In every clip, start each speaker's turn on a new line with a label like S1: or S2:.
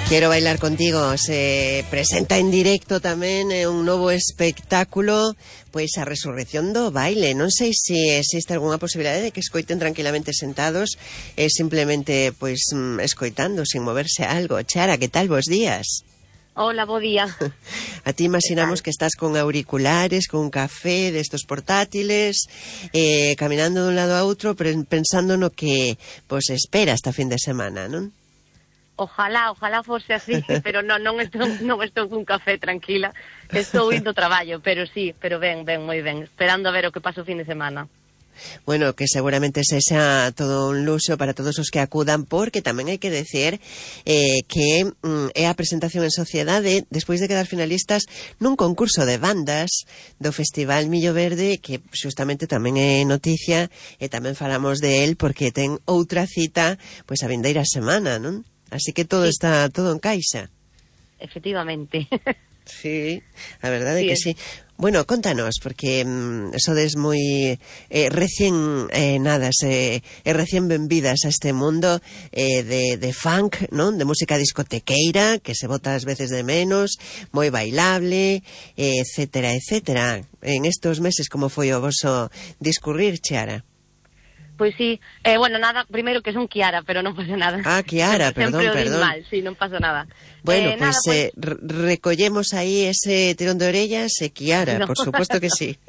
S1: Quero bailar contigo se presenta en directo tamén un novo espectáculo, pois a resurrección do baile. Non sei se existe algunha posibilidade de que escoiten tranquilamente sentados e simplemente pois escoitando sin moverse algo. Chara, que tal? Bos días.
S2: Hola, bo día.
S1: A ti imaginamos que estás con auriculares, con un café destos portátiles, caminando dun lado a outro, pensando no que pois espera esta fin de semana, non?
S2: Ojalá fose así, pero non estou cun café, tranquila. Estou indo ao traballo, pero sí, pero ben, moi ben, esperando a ver o que pasa o fin de semana.
S1: Bueno, que seguramente sexa todo un luxo para todos os que acudan, porque tamén hai que decir que é a presentación en sociedade despois de quedar finalistas nun concurso de bandas do Festival Millo Verde, que justamente tamén é noticia e tamén falamos de él porque ten outra cita pois a vindeira semana, non? Así que todo está, todo encaixa.
S2: Efectivamente.
S1: Sí, a verdade é que sí. Bueno, contanos, porque sodes moi recién recién benvidas a este mundo de funk, non? De música discotequeira, que se bota ás veces de menos, moi bailable, etcétera, etcétera. En estos meses, como foi o voso discurrir, Chiara?
S2: Pois sí, bueno, nada, primeiro que son Kiara, pero non pasa nada.
S1: Ah, Kiara, perdón.
S2: Mal, sí, non pasa nada.
S1: Bueno, pues recollemos aí ese tirón de orellas e Kiara, no. Por suposto que sí.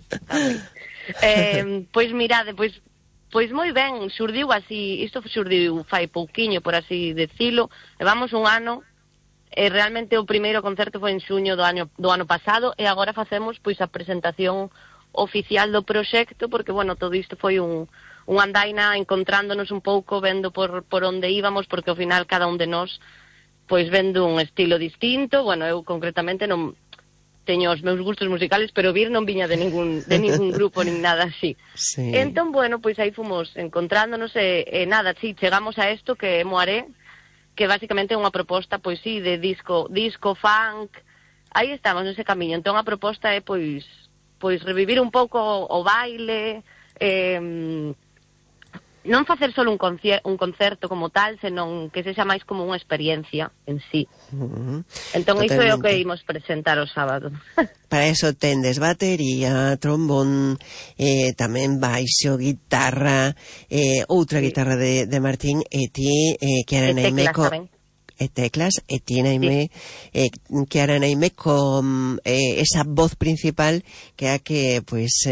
S2: Pois mirade, pois moi ben, xurdiu así, isto xurdiu fai pouquiño, por así decilo, levamos un ano, e realmente o primeiro concerto foi en xuño do ano pasado, e agora facemos pois a presentación oficial do proxecto, porque, bueno, todo isto foi un andaina encontrándonos un pouco, vendo por onde íbamos, porque ao final cada un de nós pois vendo un estilo distinto. Bueno, eu concretamente non teño os meus gustos musicales, pero vir non viña de ningún grupo nin nada así.
S1: Sí.
S2: Entón, bueno, pois aí fomos encontrándonos e nada, sí, chegamos a isto que é Moaré, que basicamente é unha proposta, pois sí, de disco funk. Aí estamos nese camiño. Entón a proposta é pois revivir un pouco o baile, non facer solo un concerto como tal, senón que sexa máis como unha experiencia en sí. Entón, iso é o que imos presentar o sábado.
S1: Para eso tendes batería, trombón, tamén baixo, guitarra, outra guitarra de Martín, e ti, Kiara Naimeco... E teclas, e ti Naime, Kiara Naime con esa voz principal que é a que pois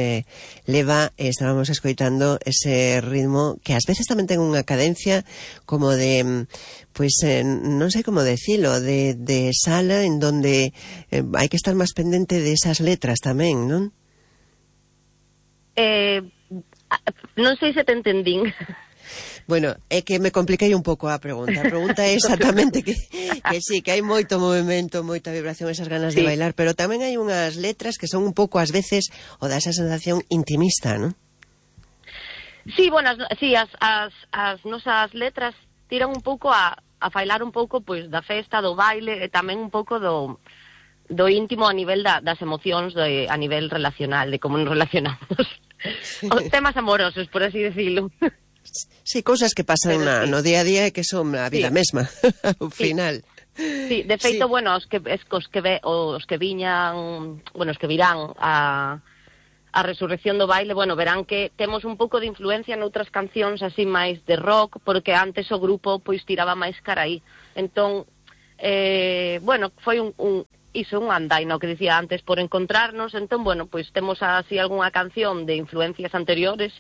S1: leva, estábamos escoitando ese ritmo que ás veces tamén ten unha cadencia como de pois non sei como decilo, de sala en donde hai que estar máis pendente de esas letras tamén, non?
S2: Non sei se te entendín.
S1: Bueno, é que me compliquei un pouco a pregunta. A pregunta é exactamente que sí, que hai moito movimento, moita vibración, esas ganas de bailar, pero tamén hai unhas letras que son un pouco, ás veces, o dá esa sensación intimista, non?
S2: Sí, bueno, sí, as nosas letras tiran un pouco a failar un pouco pois da festa, do baile, e tamén un pouco do íntimo a nivel das emocións, a nivel relacional, de como nos relacionamos. Os temas amorosos, por así decirlo.
S1: Sí, cousas que pasan no día a día e que son a vida mesma, ao final.
S2: Sí, de feito, bueno, os que viñan, bueno, os que virán a resurrección do baile, bueno, verán que temos un pouco de influencia noutras cancións así máis de rock, porque antes o grupo pois tiraba máis cara aí. Entón, bueno, foi un andaina, o que dicía antes, por encontrarnos. Entón, bueno, pois temos así algunha canción de influencias anteriores,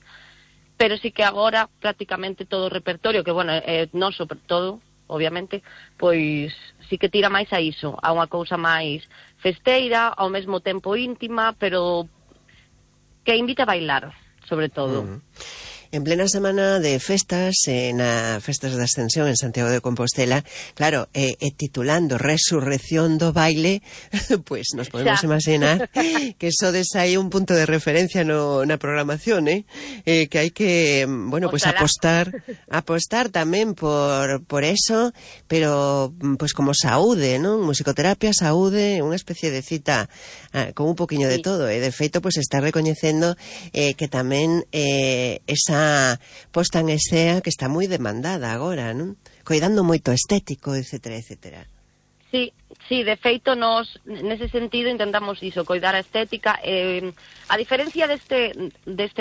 S2: pero sí que agora prácticamente todo o repertorio, que, bueno, é noso todo, obviamente, pois sí que tira máis a iso, a unha cousa máis festeira, ao mesmo tempo íntima, pero que invita a bailar, sobre todo.
S1: En plena semana de festas, na Festas da Ascensión en Santiago de Compostela, claro, titulando Resurrección do Baile, pues nos podemos imaginar que sodes aí un punto de referencia na programación, que hai que, bueno, pues apostar tamén por eso, pero pues como saúde, non? Musicoterapia, saúde, unha especie de cita con un poquinho de todo, e de feito pues está recoñecendo que tamén esa posta en escena que está moi demandada agora, non? Coidando moito estético, etcétera, etcétera.
S2: Sí, de feito nos nese sentido intentamos iso, coidar a estética. A diferencia deste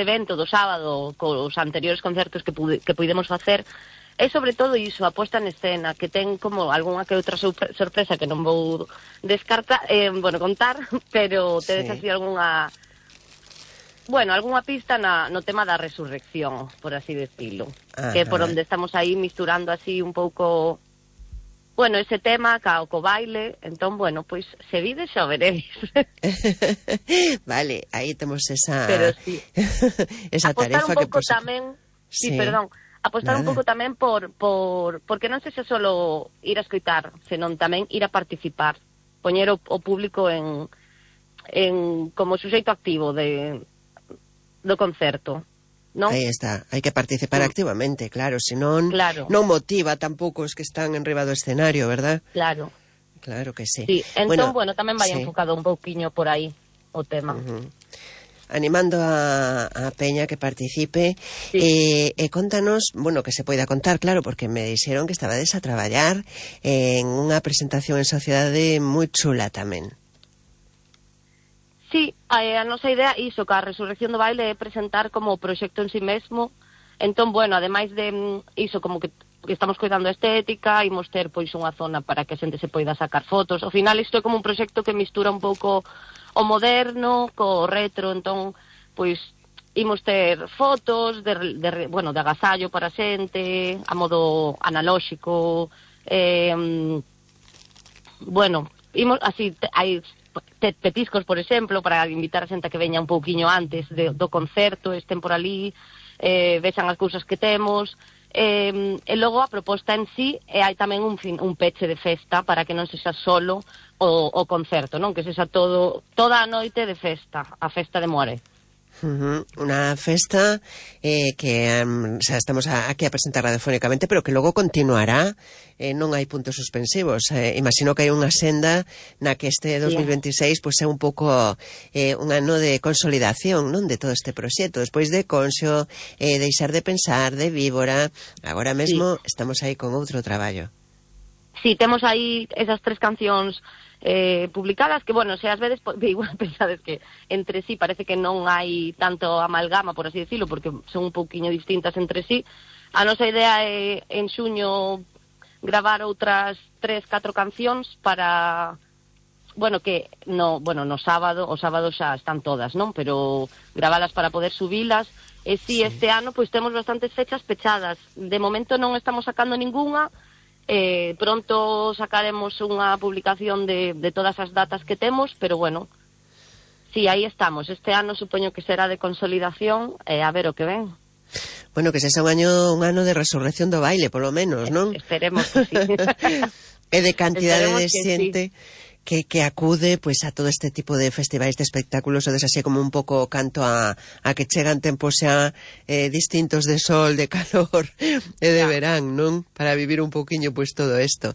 S2: evento do sábado cos anteriores concertos que puidemos facer, é sobre todo iso, a posta en escena, que ten como algunha que outra sorpresa que non vou descartar, contar, pero tedes así algunha pista no tema da resurrección, por así decirlo. Ajá. Que por onde estamos aí misturando así un pouco, ese tema co baile. Entón, pois se vides xa veréis.
S1: Vale, aí temos esa
S2: pero sí.
S1: esa tarefa que
S2: tamén, apostar un pouco tamén porque non sexa solo ir a escoitar, senón tamén ir a participar, poñer o público en como suxeito activo do concerto, non?
S1: Aí está, hai que participar activamente, claro, senón non motiva tampouco os que están enriba do escenario, verdad?
S2: Claro
S1: que sí.
S2: Sí, entón, tamén vai enfocado un pouquiño por aí o tema.
S1: Animando a Peña que participe. Sí. Contanos, que se poida contar, claro, porque me dixeron que estabades a traballar en unha presentación en sociedade moi chula tamén.
S2: Sí, a nosa idea iso, que a Resurrección do Baile é presentar como proxecto en si mesmo. Entón, ademais de iso, como que estamos coidando a estética, imos ter pois unha zona para que a xente se poida sacar fotos. Ao final isto é como un proxecto que mistura un pouco o moderno co retro, entón, pois imos ter fotos de agasallo para a xente, a modo analóxico, imos así, hai petiscos, por exemplo, para invitar a xente a que veña un pouquiño antes do concerto, estén por ali, vexan as cousas que temos, e logo a proposta en sí, hai tamén un peche de festa para que non sexa solo o concerto, non? Que sexa toda a noite de festa, a festa de Moaré.
S1: Unha festa que estamos aquí a presentar radiofónicamente, pero que logo continuará, non hai puntos suspensivos. Imagino que hai unha senda na que este 2026 pois é un pouco un ano de consolidación, non, de todo este proxecto. Despois de Conxo, Deixar de pensar, de Víbora, agora mesmo estamos aí con outro traballo.
S2: Sí, temos aí esas 3 cancións publicadas que, se ás veces igual pensades que entre sí parece que non hai tanto amalgama, por así decirlo, porque son un pouquiño distintas entre sí. A nosa idea é en xuño gravar outras 3-4 cancións para, que no sábado, o sábado xa están todas, non? Pero gravalas para poder subilas. E si este ano pois temos bastantes fechas pechadas. De momento non estamos sacando ningunha. Pronto sacaremos unha publicación de todas as datas que temos, pero sí, aí estamos. Este ano supoño que será de consolidación, a ver o que ven.
S1: Que sexa un ano de resurrección do baile, polo menos, non?
S2: Esperemos que sí.
S1: E de cantidade de xente que acude pois a todo este tipo de festivais, de espectáculos, ou así como un pouco canto a que chegan tempos xa distintos de sol, de calor e de verán, non? Para vivir un pouquiño pois todo isto.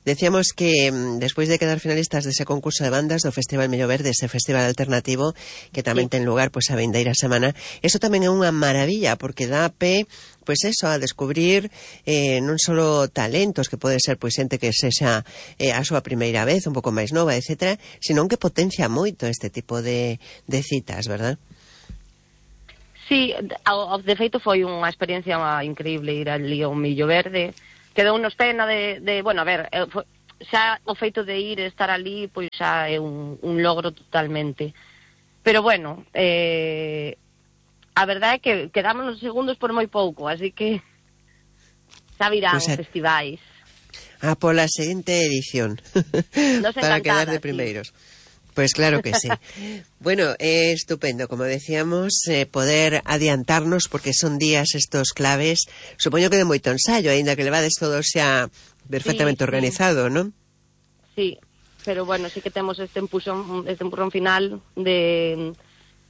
S1: Decíamos que despois de quedar finalistas dese concurso de bandas do Festival Millo Verde, ese festival alternativo que tamén ten lugar pois a vindeira semana, eso tamén é unha maravilla porque dá pé pois eso, a descubrir non só talentos que pode ser pois xente que sexa a súa primeira vez, un pouco máis nova, etcétera, senón que potencia moito este tipo de citas, verdad?
S2: Sí, de feito foi unha experiencia increíble ir ali ao Millo Verde. Quedou nos pena xa o feito de ir e estar ali pois xa é un logro totalmente. Pero a verdade é que quedamos nos segundos por moi pouco, así que xa virán festivais.
S1: Pola seguinte edición para quedar de primeiros. Pues claro que sí. É estupendo, como decíamos, poder adiantarnos, porque son días estos claves, supoño que de moito ensayo, aínda que levades todo xa perfectamente organizado, non?
S2: Sí, pero sí que temos este empurrón final de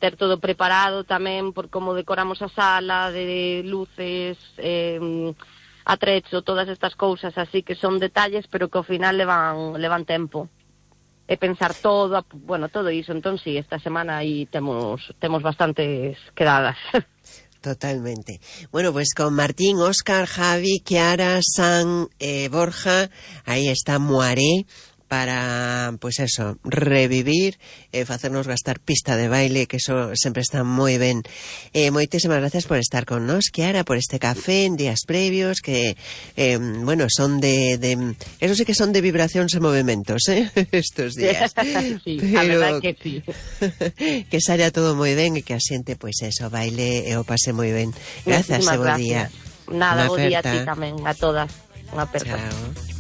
S2: ter todo preparado tamén por como decoramos a sala, de luces, atrecho, todas estas cousas, así que son detalles, pero que ao final levan tempo. E pensar todo iso. Entón, sí, esta semana aí temos bastantes quedadas.
S1: Totalmente. Pues con Martín, Óscar, Javi, Kiara, San, Borja, aí está Moaré, para, pois eso, revivir, facernos gastar pista de baile, que eso sempre está moi ben. Moitísimas gracias por estar con nos, Chiara, por este café en días previos, que, bueno, son eso sí que son de vibracións e movimentos, estos días.
S2: Sí, a verdad que sí.
S1: Que saia todo moi ben e que a xente, pois eso, baile e o pase moi ben. Grazas e bo día.
S2: Nada, bo día a ti tamén, a todas. Unha aperta.
S1: Chao.